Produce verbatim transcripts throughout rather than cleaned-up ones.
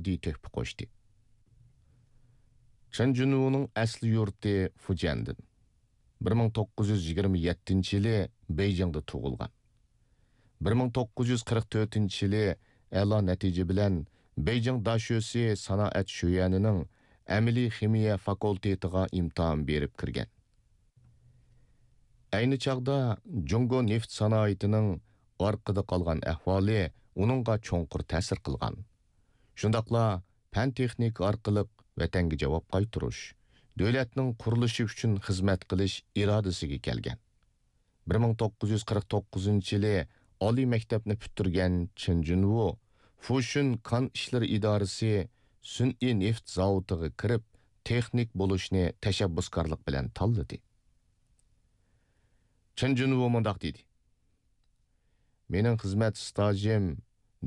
ئىقتىسادىي تۆھپە قوشتى. چېن جۇنۋۇنىڭ ئەسلى يۇرتى فۇجيەندىن. بىر مىڭ توققۇز يۈز يىگىرمە يەتتىنچى يىلى بېيجىڭدا تۇغۇلغان. بىر مىڭ توققۇز يۈز قىرىق تۆتىنچى يىلى ئەلا نەتىجە بىلەن بېيجىڭ داشۆسى سانائەت شۆيۈەنىنىڭ ئەمەلىي خىمىيە فاكۇلتېتىغا ئىمتىھان بېرىپ كىرگەن. ئەينى چاغدا جۇڭگو نېفىت سانائىتىنىڭ ئارقىدا قالغان ئەھۋالى ئۇنىڭغا چوڭقۇر تەسىر قىلغان. شۇنداقلا پەن-تېخنىكا ئارقىلىق ۋەتەنگە جاۋاب قايتۇرۇش، دۆلەتنىڭ قۇرۇلۇشى ئۈچۈن خىزمەت قىلىش ئىرادىسىگە كەلگەن. بىر مىڭ توققۇز يۈز قىرىق توققۇزىنچى يىلى ئالىي مەكتەپنى پۈتتۈرگەن چېن جۇنۋۇ فۇشۈن كان ئىشلىرى ئىدارىسى سۈنئىي نېفىت زاۋۇتىغا كىرىپ، تېخنىك بولۇشنى تەشەببۇسكارلىق بىلەن تاللىدى. چېن جۇنۋۇ مۇنداق دېدى: مېنىڭ خىزمەت ئىستاژىم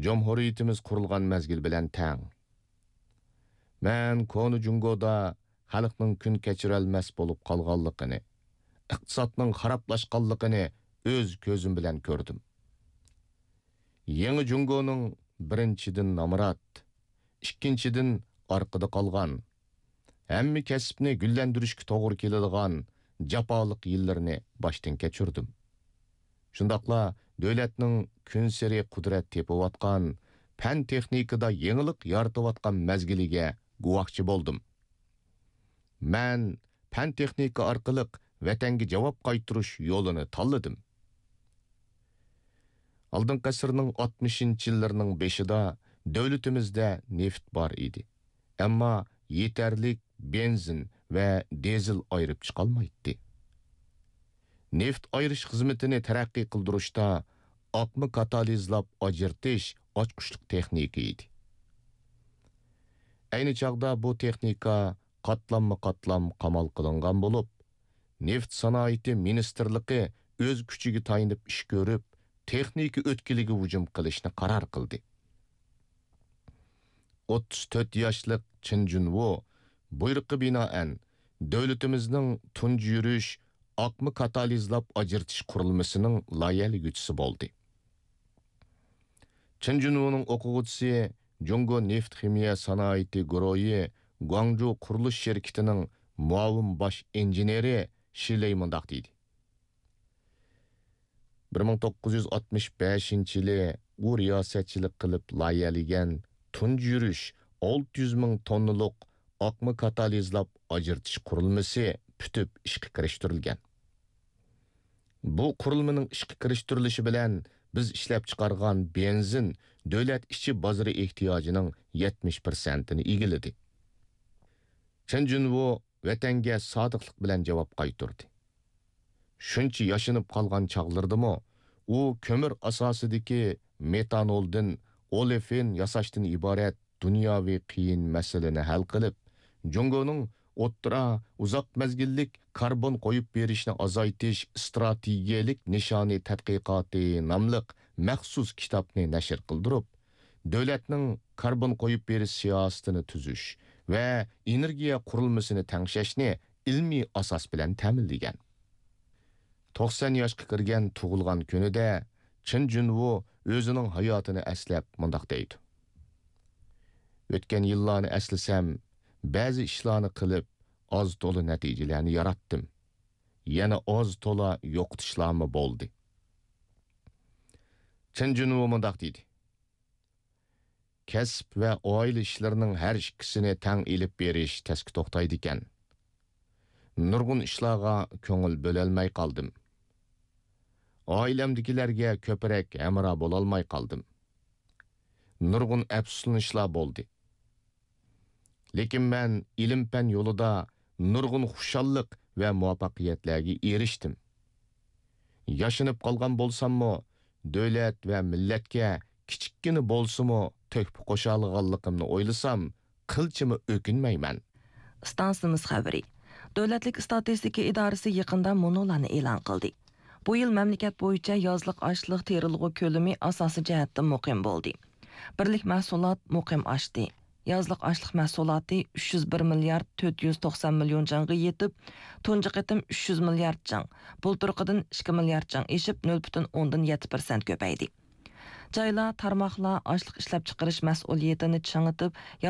جۇمھۇرىيىتىمىز قۇرۇلغان مەزگىل بىلەن تەڭ. مەن كونا جۇڭگودا خەلقنىڭ كۈن كەچۈرەلمەس بولۇپ قالغانلىقىنى، ئىقتىسادنىڭ خارابلاشقانلىقىنى ئۆز كۆزۈم بىلەن كۆردۈم. يېڭى جۇڭگونىڭ بىرىنچىدىن نامرات، ئىككىنچىدىن ئارقىدا قالغان، ھەممە كەسىپنى گۈللەندۈرۈشكە توغرا كېلىدىغان جاپالىق يىللىرىنى باشتىن كەچۈردۈم. شۇنداقلا دۆلەتنىڭ كۈنسېرى قۇدرەت تېپىۋاتقان، پەن-تېخنىكىدا يېڭىلىق يارىتىۋاتقان مەزگىلىگە گۇۋاھچى بولدۇم. مەن پەن-تېخنىكا ئارقىلىق ۋەتەنگە جاۋاب قايتۇرۇش يولىنى تاللىدىم. ئالدىنقى ئەسىرنىڭ ئاتمىشىنچى يىللىرىنىڭ بېشىدا دۆلىتىمىزدە نېفىت بار ئىدى، ئەمما يېتەرلىك بېنزىن ۋە دىزېل ئايرىپ چىقالمايتتى. نېفىت ئايرىش خىزمىتىنى تەرەققىي قىلدۇرۇشتا ئاقما كاتالىزلاپ ئاجرىتىش ئاچقۇچلۇق تېخنىكا ئىدى. ئەينى چاغدا بۇ تېخنىكا قاتلاممۇ قاتلام قامال قىلىنغان بولۇپ، نېفىت سانائىتى مىنىستىرلىقى ئۆز كۈچىگە تايىنىپ ئىش كۆرۈپ، تېخنىكا ئۆتكىلىگە ھۇجۇم قىلىشنى قارار قىلدى. ئوتتۇز تۆت ياشلىق چېن جۇنۋو بۇيرۇققا بىنائەن، دۆلىتىمىزنىڭ تۇنجى يۈرۈش ئاقما كاتالىزلاپ ئاجرىتىش قۇرۇلمىسىنىڭ لايىھەلىگۈچىسى بولدى. چېن جۇنۋونىڭ ئوقۇغۇچىسى، جۇڭگو نېفىت خىمىيە سانائىتى گۇرۇھى گۇاڭجۇ قۇرۇلۇش شىركىتىنىڭ مۇئاۋىن باش ئىنژېنېرى شى لېي مۇنداق دېدى: بىر مىڭ توققۇز يۈز ئاتمىش بەشىنچى يىلى ئۇ رىياسەتچىلىك قىلىپ لايىھەلىگەن تۇنجى يۈرۈش ئالتە يۈز مىڭ توننىلىق ئاقما كاتالىزلاپ ئاجرىتىش قۇرۇلمىسى پۈتۈپ ئىشقا كىرىشتۈرۈلگەن. بۇ قۇرۇلمىنىڭ ئىشقا كىرىشتۈرۈلۈشى بىلەن بىز ئىشلەپچىقارغان بېنزىن دۆلەت ئىچى بازىرى ئېھتىياجىنىڭ يەتمىش پىرسەنتىنى ئىگىلىدى. چېن جۇنۋو ۋەتەنگە سادىقلىق بىلەن جاۋاب قايتۇردى. شۇنچە ياشىنىپ قالغان چاغلىرىدىمۇ ئۇ كۆمۈر ئاساسىدىكى مېتانولدىن ئولېفىن ياساشتىن ئىبارەت دۇنياۋى قىيىن مەسىلىنى ھەل قىلىپ، جۇڭگونىڭ ئوتتۇرا، ئۇزاق مەزگىللىك كاربون قويۇپ بېرىشنى ئازايتىش ئىستراتېگىيەلىك نىشانى تەتقىقاتى ناملىق مەخسۇس كىتابنى نەشر قىلدۇرۇپ، دۆلەتنىڭ كاربون قويۇپ بېرىش سىياسىتىنى تۈزۈش ۋە ئېنېرگىيە قۇرۇلمىسىنى تەڭشەشنى ئىلمىي ئاساس بىلەن تەمىنلىگەن. توقسان ياشقا كىرگەن تۇغۇلغان كۈنىدە چېن جۇنۋو ئۆزىنىڭ ھاياتىنى ئەسلەپ مۇنداق دەيدۇ: ئۆتكەن يىللارنى ئەسلىسەم، بەزى ئىشلارنى قىلىپ، ئاز تولا نەتىجىلەرنى ياراتتىم. يەنە ئاز تولا يوقىتىشلارمۇ بولدى. چېن جۇنۋو مۇنداق دېدى: كەسىپ ۋە ئائىلە ئىشلىرىنىڭ ھەر ئىككىسىنى تەڭ ئېلىپ بېرىش تەسكە توختايدىكەن. نۇرغۇن ئىشلارغا كۆڭۈل بۆلەلمەي قالدىم. ئائىلەمدىكىلەرگە كۆپرەك ھەمراھ بولالماي قالدىم. نۇرغۇن ئەپسۇسلىنىشلار بولدى. لېكىن مەن ئىلىم-پەن يولىدا نۇرغۇن خۇشاللىق ۋە مۇۋەپپەقىيەتلەرگە ئېرىشتىم. ياشىنىپ قالغان بولساممۇ، دۆلەت ۋە مىللەتكە كىچىككىنە بولسىمۇ تۆھپە قوشالىغانلىقىمنى ئويلىسام، قىلچىمۇ ئۆكۈنمەيمەن. ئىستانسىمىز خەۋىرى. دۆلەتلىك ئىستاتىستىكا ئىدارىسى يېقىندا مۇنۇلارنى ئېلان قىلدى. بۇ يىل مەملىكەت بويىچە يازلىق ئاشلىق تېرىلغۇ كۆلىمى ئاساسىي جەھەتتىن مۇقىم بولدى. بىرلىك مەھسۇلات مۇقىم ئاشتى. يازلىق ئاشلىق مەھسۇلاتى ئۈچ يۈز بىر مىليارد تۆت يۈز توقسان مىليون جاڭغا يېتىپ، تۇنجى قېتىم ئۈچ يۈز مىليارد جاڭ، بۇلتۇرقىدىن ئىككى مىليارد جاڭ ئېشىپ، نۆل پۈتۈن ئوندىن يەتتە پىرسەنت كۆپەيدى. جايلار، تارماقلار ئاشلىق ئىشلەپچىقىرىش مەسئۇلىيىتىنى چىڭىتىپ،